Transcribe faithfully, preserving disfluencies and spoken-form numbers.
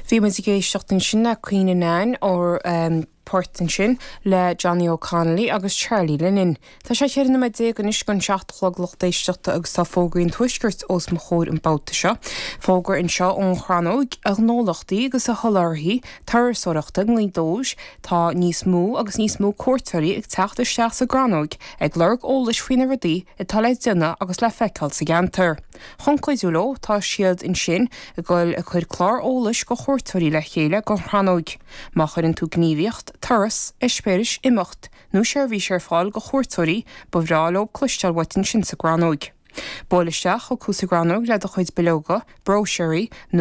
Bhí muid ag éisteacht ansin le Queen Anne ó um, port ansin le Johnny O'Connolly agus Charlie Lennon. Tá sé ceithre nóiméad déag anois chun seacht a chlog lucht éisteachta agus tá fógraí an tuaiscirt os mo chomhair an babhta seo. Fógra anseo ón Chrannóg a ghnólachtaí agus a sholáthraithe turasóireachta i nGaoth Dobhair tá níos mó agus níos mó cuairteoirí ag teacht isteach sa gCrannóg ag lorg eolais faoi na rudaí atá le déanamh agus le feiceáil sa gceantar. Chun cuidiú leo tá siad ansin ag dul ag cur clár eolais go chuairteoirí le chéile don Chrannóg. Má chuireann tú gníomhaíocht, turas, eispéireas, imeacht, nó seirbhís ar fáil go chuairteoirí ba bhreá leo cloisteáil uait ansin sa gCrannóg. Buail isteach chucu sa gCrannóg le do chuid bileoga, bróisiúirí nó